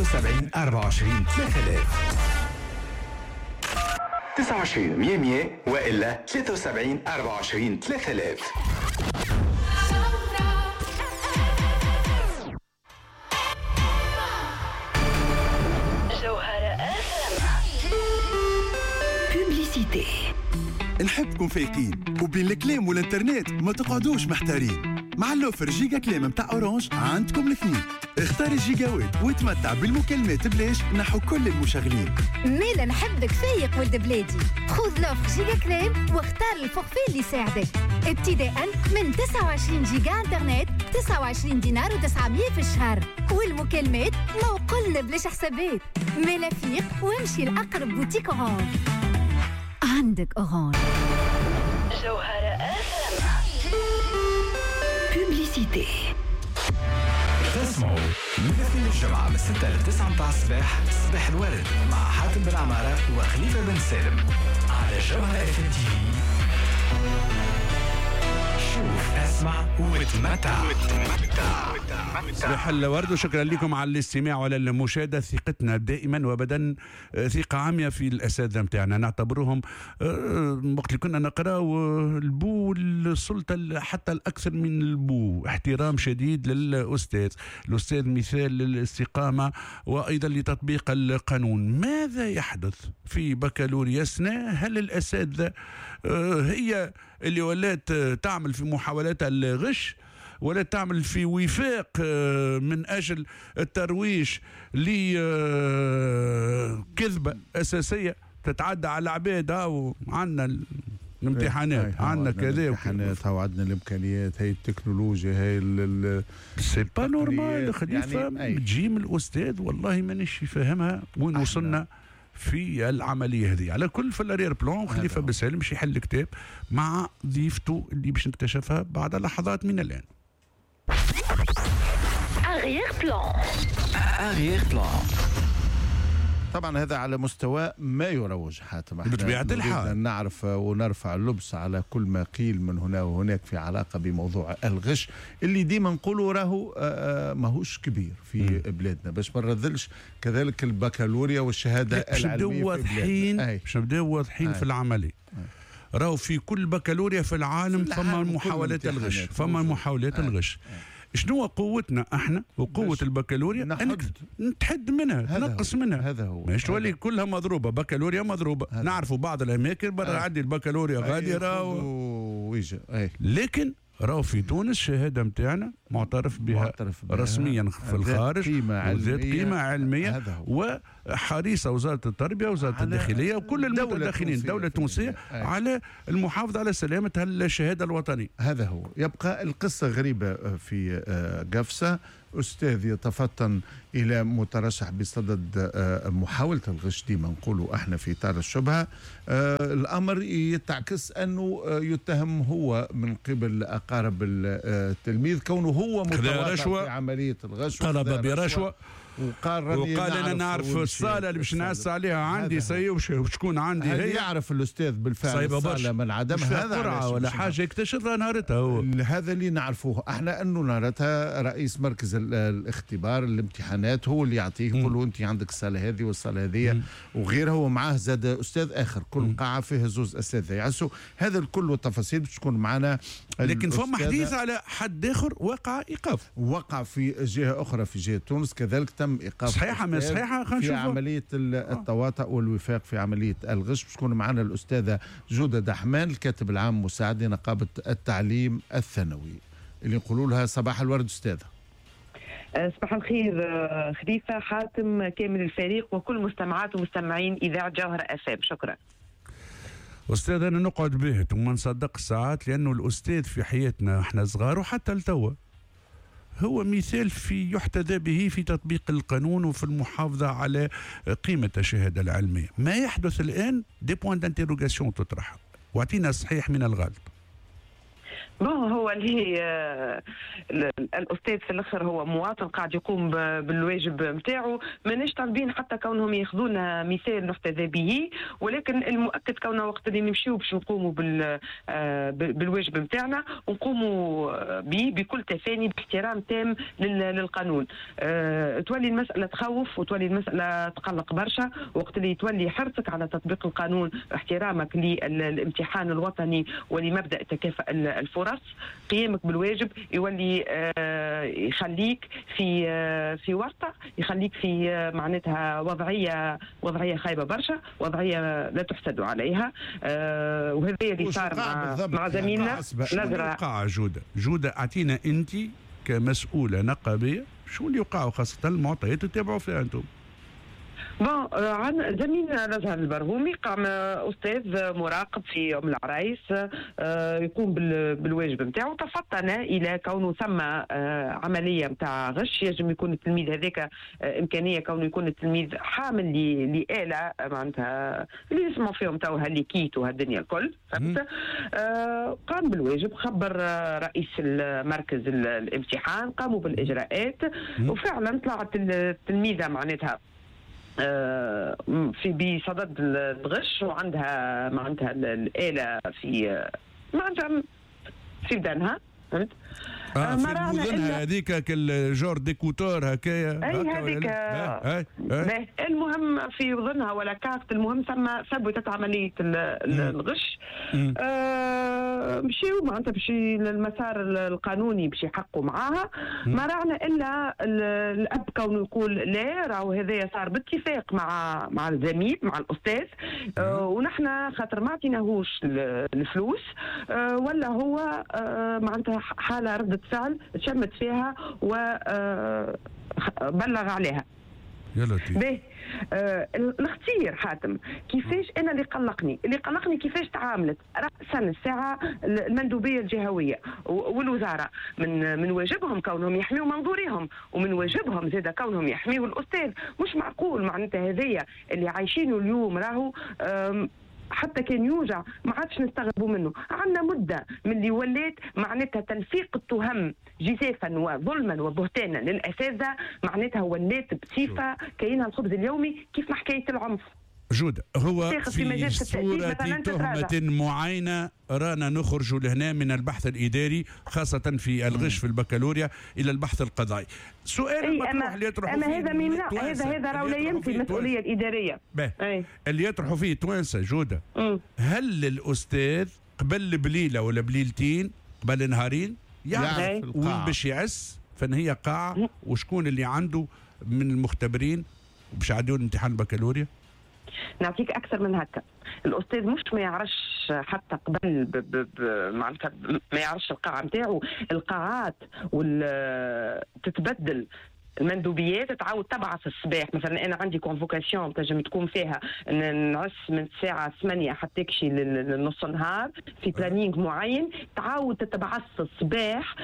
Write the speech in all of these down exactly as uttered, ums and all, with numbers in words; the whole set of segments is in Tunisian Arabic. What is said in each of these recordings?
وسبعين أربعة وعشرين ثلاثة آلاف. تسعة وعشرين مية مية وإلا ثلاثة وسبعين أربعة وعشرين ثلاثة آلاف. Publicité. نحبكم فايقين وبين الكلام والانترنت ما تقعدوش محتارين. مع l'offre giga كلام متاع Orange عندكم الاثنين. اختار الجيجاوات وتمتع بالمكالمات بلاش نحو كل المشغلين. مالا نحبك فايق ولد بلادي، خذ l'offre giga كلام واختار ال forfait اللي يساعدك، ابتداء من تسعة وعشرين جيجا انترنت تسعة وعشرين دينار وتسعمية في الشهر، والمكالمات ما وقلنا بلاش حسابات. مالا فيق وامشي لأقرب boutique Orange. عندك Orange. جوهرة أف أم. Publicité. تسمعوا من اثنين الجمعة من ستة ل تسعة متاع الصباح، صباح الورد مع حاتم بن عمارة وخليفة بن سالم على جوهرة اف ام تي في. شوف، اسمع وتمتع. صباح الورد وشكرا لكم على الاستماع وعلى المشاهدة. ثقتنا دائما وابدا ثقة عامية في الأساتذة نتاعنا، نعتبرهم وقت اللي كنا نقراو البو السلطة حتى الأكثر من البو، احترام شديد للأستاذ، الأستاذ مثال للاستقامة وأيضا لتطبيق القانون. ماذا يحدث في بكالوريا سنة؟ هل الأساتذة هي اللي ولات تعمل في محاولات الغش ولا تعمل في وفاق من أجل الترويج لكذبة أساسية تتعدى على العباد؟ وعندنا الامتحانات، عندنا كذا، الامتحانات وعندنا الامكانيات، هي التكنولوجيا، هي ال c'est pas normal خليفة. يعني تجي من الأستاذ والله مانيش فاهمها وين وصلنا في العملية هذه. على كل في ال arrière-plan خليفة بن سالم باش يحل الكتاب مع ضيفته اللي باش نكتشفها بعد لحظات من الآن. Arrière-plan. Arrière-plan. طبعا هذا على مستوى ما يروج حاتم، بطبيعة الحال نعرف ونرفع اللبس على كل ما قيل من هنا وهناك في علاقة بموضوع الغش اللي ديما نقولوا راهو ماهوش كبير في م. بلادنا، باش ما نرذلش كذلك البكالوريا والشهادة العلمية في بلادنا. باش نبداو واضحين في العملية، راهو في كل بكالوريا في العالم فما محاولات الغش، فما محاولات الغش. شنو قوتنا احنا وقوه البكالوريا؟ انك تحد منها، تنقص منها. هذا هو، مش تولي كلها مضروبة، بكالوريا مضروبة. نعرفوا بعض الاماكن برا عندي البكالوريا غالية راهو، لكن راهو في تونس الشهادة نتاعنا معترف بها, معترف بها رسميا في الخارج، وذات قيمة علمية، وحريصه وزارة التربية وزارة الداخلية وكل المتدخلين الدولة التونسية على المحافظة على سلامه الشهادة الوطنية. هذا هو. يبقى القصة غريبة في قفصه، أستاذ يتفطن إلى مترشح بصدد محاولة الغش، ديما نقولوا احنا في إطار الشبهة، الأمر يتعكس أنه يتهم هو من قبل أقارب التلميذ كونه هو متواطئ في عملية الغش، طلب برشوة وقال وقال انا نعرف الصاله اللي باش نعس عليها عندي سي وشكون عندي هي، يعرف الاستاذ بالفعل الصاله من عدمها، هذا قرعه ولا حاجة يكتشفها نهارتها هو. هذا اللي نعرفوه احنا انه نهارتها رئيس مركز الاختبار الامتحانات هو اللي يعطيه، يقول له انت عندك الصاله هذه والصاله هذه وغيرها، ومعاه زاد استاذ اخر، كل قاعة فيها زوز اساتذة يعسوا. هذا الكل والتفاصيل باش تكون معنا. لكن فما حديث على حد اخر وقع ايقاف، وقع في جهة اخرى في جهة تونس كذلك تم ايقاف. صحيحه ما صحيحه، خلينا نشوف في عملية التواطؤ والوفاق في عملية الغش. باش تكون معنا الاستاذة جوده دحمان الكاتب العام مساعد لنقابه التعليم الثانوي، اللي نقولوا لها صباح الورد استاذه. صباح الخير خليفة، حاتم، كامل الفريق وكل مستمعات ومستمعين اذاعة جوهره اف ام. شكرا استاذ. انا نقعد بهت وما نصدق ساعات، لانه الاستاذ في حياتنا احنا صغار وحتى لتوا هو مثال في يحتذى به في تطبيق القانون وفي المحافظة على قيمة الشهادة العلمية. ما يحدث الآن des points d'interrogation تطرح، واعطينا الصحيح من الغلط. bon هو اللي الاستاذ في الاخر هو مواطن قاعد يقوم بالواجب نتاعو، ماناش طالبين حتى كونهم ياخذونا مثال نحتذى به، ولكن المؤكد كوننا وقت اللي نمشيو باش نقوموا بالواجب نتاعنا ونقوموا به بكل تفاني باحترام تام للقانون. تولي المسالة تخوف وتولي المسالة تقلق برشا وقت اللي تولي حرصك على تطبيق القانون، احترامك للامتحان الوطني ولمبدا تكافؤ الفرص، قيامك بالواجب يولي يخليك في في ورطة، يخليك في معناتها وضعية وضعية خايبة برشا، وضعية لا تحسد عليها. وهذا اللي صار مع مع زميلنا نزرة. وقع جوده جوده اعطينا انت كمسؤوله نقابيه شو اللي وقع، خاصة المعطيات تتابعوا فيها انتم. bon عن زميلنا نزهر البرهومي قام استاذ مراقب في ام العرايس يقوم بالواجب نتاعو، تفطن الى كونه ثم عملية نتاع غش، يجب يكون التلميذ هذاك امكانية كونه يكون التلميذ حامل لاله معناتها اللي يسمعوا فيهم تو ها les kits وهالدنيا الكل، فهمت؟ قام بالواجب، خبر رئيس المركز الامتحان، قاموا بالاجراءات، وفعلا طلعت التلميذة معناتها في بصدد الغش وعندها معناتها الآلة في معناتها في بدنها، فهمت؟ آه في بدنها هذيك كال genre d'écouteurs هكايا. اي هذيك. المهم في وذنها ولا كارت، المهم ثم ثبتت عملية الغش. آه مشيو معناتها باش للمسار القانوني باش يحقوا معاها، ما راعنا الا الاب كونه يقول لا راهو هذايا صار باتفاق مع مع الزميل مع الاستاذ، آه ونحن خاطر ما عطيناهوش الفلوس، آه ولا هو آه معناتها حاله ردة فعل تشمت فيها وبلغ عليها. يا لطيف. باهي آه الخطير حاتم كيفاش انا اللي قلقني اللي قلقني كيفاش تعاملت راسا الساعة المندوبيه الجهوية والوزارة، من من واجبهم كونهم يحميوا منظورهم، ومن واجبهم زاد كونهم يحميوا الاستاذ. مش معقول معناتها هذايا اللي عايشينه اليوم راهو حتى كان يوجع ما عادش نستغربوا منه. عندنا مده من اللي ولات معناتها تلفيق التهم جزافا وظلما وبهتانا للاساتذه، معناتها ولات بصفة كاينها الخبز اليومي كيف ما حكاية العنف. جودة هو في, في صورة تهمة معينة رانا نخرج لهنا من البحث الإداري خاصة في الغش في البكالوريا إلى البحث القضائي. سؤال المطروح اللي يطرحوا أما هذا ما هذا هذا راه لا ينفي المسؤولية الإدارية. أي. اللي يطرحوا فيه توانسة جودة، مم. هل الأستاذ قبل بليلة ولا بليلتين قبل نهارين يعرف وين باش يعس فإن هي قاعة وشكون اللي عنده من المختبرين باش يعديوا الامتحان البكالوريا؟ نعطيك اكثر من هكا، الاستاذ مش ما يعرفش حتى قبل ب ب ب معناتها ما يعرفش القاعة نتاعو، القاعات وال تتبدل، المندوبيات تعاود تبعث الصباح، مثلا انا عندي convocation تنجم تكون فيها نعس من الساعة ثمانية حتى تكشي لنص النهار في planning معين، تعاود تتبعث الصباح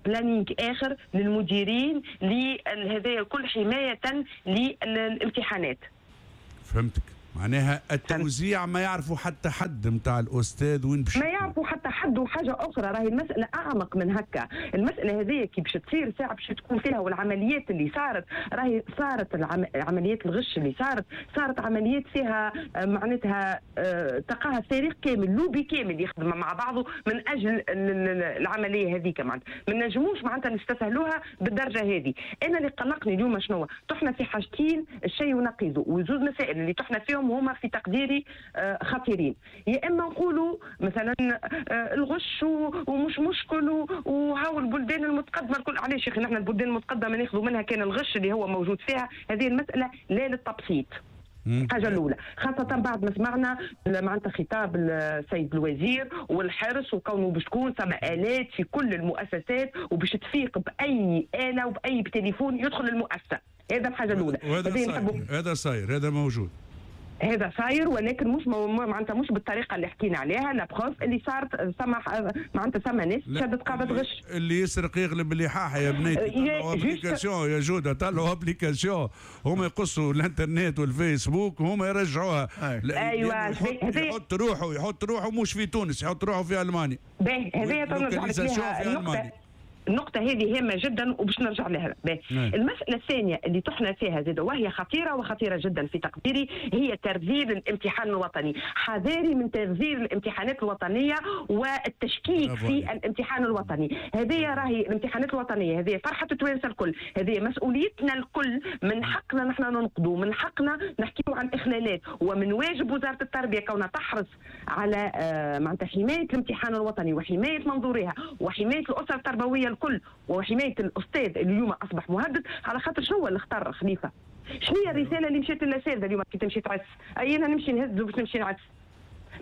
planning اخر للمديرين لهذا الكل حماية للامتحانات. فهمتك، معناها التوزيع ما يعرفوا حتى حد نتاع الاستاذ وين باش ما يعرفوا حتى حد. وحاجه اخرى راهي المسالة اعمق من هكا، المسالة هذه كي باش تصير ساعة باش تكون فيها، والعمليات اللي صارت راهي صارت العم... عمليات الغش اللي صارت صارت عمليات فيها معناتها تقاها فريق كامل، لوبي كامل يخدم مع بعضه من اجل العملية هذيك، معناتها ما نجموش معناتها نستسهلوها بالدرجة هذه. انا اللي قلقني اليوم شنو؟ طحنا في حاجتين الشيء ونقيضه، وزوز مسائل اللي طحنا فيهم هما في تقديري خطيرين. يا اما نقولوا مثلا الغش ومش مشكل وهاو البلدان المتقدمة الكل، علاش يا اخي نحن البلدان المتقدمة ناخذوا منها كان الغش اللي هو موجود فيها؟ هذه المسالة لا للتبسيط. الحاجة الاولى، خاصة بعد ما سمعنا معناتها خطاب السيد الوزير والحرص وكونه باش تكون ثم الات في كل المؤسسات وباش تفيق باي اله وباي تليفون يدخل المؤسسة. هذا الحاجة الاولى. هذا صاير، هذا صاير، هذا موجود. هذا صاير، ولكن مش معناتها مش بالطريقة اللي حكينا عليها. la preuve اللي صارت سمح معناتها ثم ناس شدت قاعدة غش. اللي يسرق يغلب اللي حاح يا بنيتي. طلعوا application يا جوده، طلعوا application، هما يقصوا الانترنت والفيسبوك وهما يرجعوها. ايوه يحط, يحط روحه يحط روحه مش في تونس، يحط روحه في المانيا. باهي هذه تنرجع لك لها النقطة. النقطة هذه هامة جدا وباش نرجع لها. المسألة الثانية اللي طحنا فيها زاد وهي خطيرة وخطيرة جدا في تقديري هي ترذيل الامتحان الوطني. حذاري من ترذيل الامتحانات الوطنية والتشكيك في الامتحان الوطني. هذه راهي الامتحانات الوطنية، هذه فرحة التوانسة الكل، هذه مسؤوليتنا الكل، من حقنا نحن ننقدوا، من حقنا نحكيو عن إخلالات، ومن واجب وزارة التربية كونها تحرص على معناتها حماية الامتحان الوطني وحماية منظورها وحماية الأسرة التربوية الكل وحماية الاستاذ اللي اليوم اصبح مهدد. على خاطر شنو هو اللي اختار خليفة؟ شنو هي الرسالة اللي مشات للاساتذه اليوم كي تمشي تعس؟ اي انا نمشي نهز باش نمشي نعس،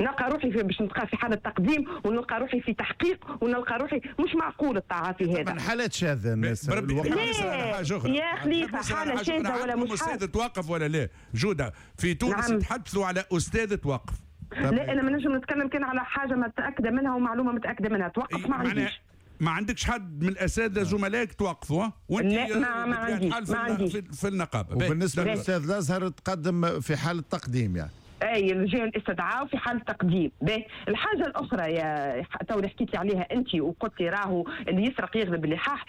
نلقى روحي في باش نلقى في حاله تقديم ونلقى روحي في تحقيق ونلقى روحي مش معقول التعاطي هذا. من حالات شاذة الناس يا خليفة، حاله شاذة ولا مش استاذ توقف ولا لا؟ جوده في تونس نعم. تحدثوا على استاذ توقف. لا انا ما نجم نتكلم كان على حاجة متاكدة منها ومعلومه متاكدة منها. توقف ما عنديش، ما عندكش حد من الاساتذة زملائك توقفوا وانت؟ لا ما, ما عنديش، ما عنديش في, في النقابة. وبالنسبة للاستاذ الازهر تقدم في حاله تقديم يعني اي الرجال الاستدعاء في حال تقديم. باهي الحاجة الاخرى يا تو اللي حكيت لي عليها انت وقلت لي راهو اللي يسرق يغلب اللي حاح،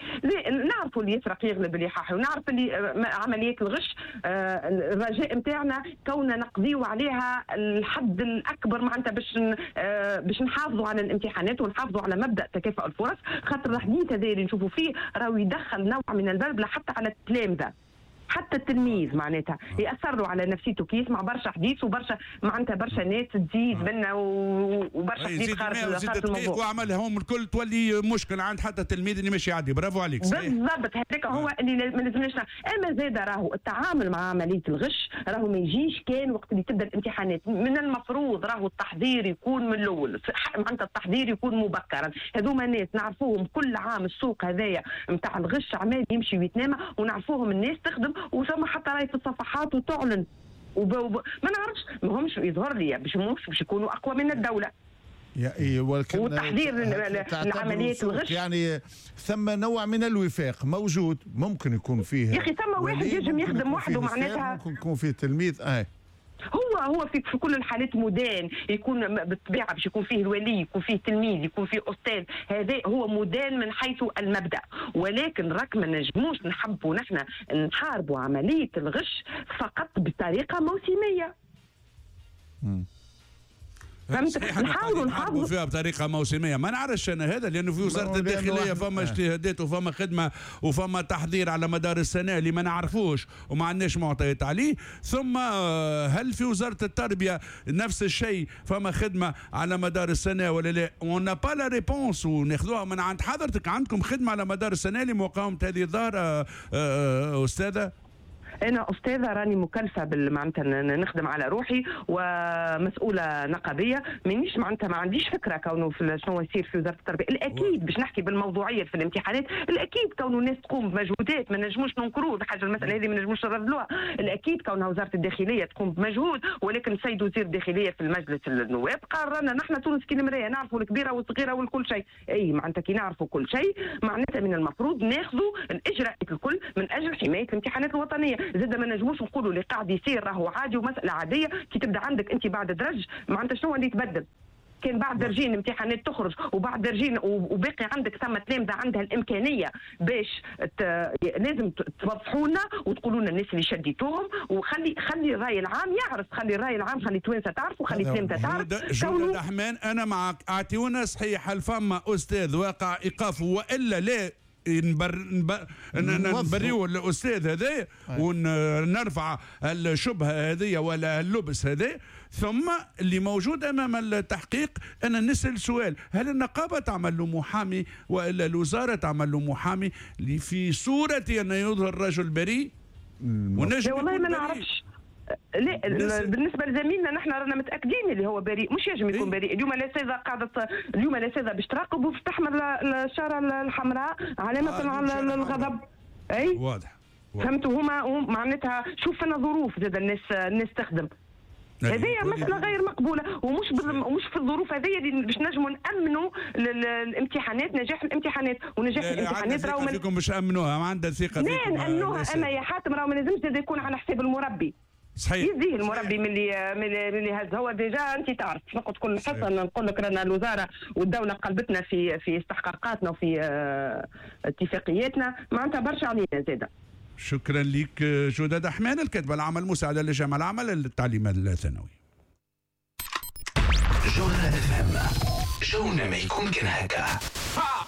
نعرفوا اللي يسرق يغلب اللي حاح، ونعرف اللي عمليات الغش الرجاء نتاعنا كوننا نقضيو عليها الحد الاكبر معناتها باش باش نحافظوا على الامتحانات ونحافظوا على مبدا تكافؤ الفرص، خاطر الحديث هذا اللي نشوفوا فيه راهو يدخل نوع من البلبلة حتى على التلامذه، حتى التلميذ معناتها ياثروا على نفسيته كي يسمع برشا حديث وبرشا معناتها برشا ناس تزيد منا وبرشا حديث خارج خارج الموضوع وعملهم الكل تولي مشكل عند حتى التلميذ اللي ماشي يعدي. برافو عليك. بالضبط هذاك هو اللي ما لازمناش. اما زاد راهو التعامل مع عملية الغش راهو ما يجيش كان وقت اللي تبدا الامتحانات، من المفروض راهو التحضير يكون من الاول، معناتها التحضير يكون مبكرا. هذوما ناس نعرفوهم كل عام السوق هذايا نتاع الغش عمال يمشي ويتنامى ونعرفوهم الناس تخدم وثم حتى راي في الصفحات وتعلن وب... وب... ما نعرفش ماهمش يظهر لي باش مش باش يكونوا اقوى من الدولة. يا إيه ولكن والتحضير لعملية الغش يعني ثم نوع من الوفاق موجود ممكن يكون فيه يا اخي ثم واحد يجم يخدم وحده معناتها ممكن يكون فيه تلميذ اه هو هو في في كل الحالات مدان، يكون بالطبيعة باش يكون فيه الولي، يكون فيه تلميذ، يكون فيه استاذ، هذا هو مدان من حيث المبدا، ولكن راك ما نجموش نحبوا نحن نحاربوا عملية الغش فقط بطريقة موسميه. فهمت؟ نحاولوا نحافظوا فيها بطريقة موسميه، ما نعرفش انا هذا لانه في وزارة الداخلية فما اجتهادات وفما خدمة وفما تحضير على مدار السنة اللي ما نعرفوش وما عندناش معطيات عليه. ثم هل في وزارة التربية نفس الشيء فما خدمة على مدار السنة ولا لا؟ on n'a pas la réponse وناخذوها من عند حضرتك. عندكم خدمة على مدار السنة لمقاومة هذه الظاهرة استاذه؟ أنا أستاذة راني مكلفة معناتها نخدم على روحي ومسؤولة نقابية، مانيش معناتها ما عنديش فكرة كونه في شنو يصير في وزارة التربية. الأكيد باش نحكي بالموضوعية في الامتحانات، الأكيد كونه الناس تقوم بمجهودات ما نجموش ننكروه، الحاجة المسألة هذه ما نجموش نردلوها. الأكيد كونها وزارة الداخلية تقوم بمجهود، ولكن السيد وزير الداخلية في المجلس النواب قال رانا نحن تونس كي المراية نعرفوا الكبيرة والصغيرة والكل شيء. أي معناتها كي نعرفوا كل شيء معناتها من المفروض ناخذوا الإجراءات الكل من أجل حماية الامتحانات الوطنية. زاد ما نجموش نقولوا اللي قاعد يصير راهو عادي ومسالة عادية. كي تبدا عندك انت بعد درج معناتها شنو اللي يتبدل؟ كان بعد درجين امتحانات تخرج وبعد درجين وباقي عندك ثم تلامذه عندها الامكانية باش ت... لازم توضحوا لنا وتقولوا لنا الناس اللي شديتوهم، وخلي خلي الراي العام يعرف، خلي الراي العام، خلي التوانسة تعرف وخلي التلامذه تعرف. جودة دحمان انا معك، اعطيونا صحيح هل فما استاذ واقع ايقافه والا لا؟ نبر نبر نبريو الاستاذ هذا ونرفع الشبهة هذه ولا اللبس هذا. ثم اللي موجود امام التحقيق انا نسال سؤال، هل النقابة تعمل له محامي والا الوزارة تعمل له محامي في صوره ان يظهر رجل بريء؟ ونجم والله ما نعرفش. لا بالنسبة لزميلنا نحن رانا متاكدين اللي هو بريء، مش يجم يكون بريء. اليوم الاساتذة قاعدة، اليوم الاساتذة باش تراقب وباش تحمل الشارة الحمراء علامة آه على الغضب. اي واضح. فهمتوا؟ هما معناتها شوف فينا ظروف زاد الناس الناس تخدم. هذه مسألة غير مقبولة، ومش ومش في الظروف هذه اللي باش نجموا نأمنوا الامتحانات، نجاح الامتحانات ونجاح الامتحانات راهو فيكم باش أمنوها، ما عندها ثقة فيكم. لا نأمنوها، أما يا حاتم راهو ما لازمش زاد يكون على حساب المربي. صحيح، يزيه المربي من اللي من اللي هز هو déjà. انت تعرف نقعد كل حصة نقول لك رانا الوزارة والدولة قلبتنا في في استحقاقاتنا وفي اتفاقياتنا، معناتها برشا علينا زاده. شكرا لك جودة دحمان، الكاتبة العامة المساعدة للجامعة العامة للتعليم الثانوي. جوهرة اف ام، جونا ما يكون كان هكا.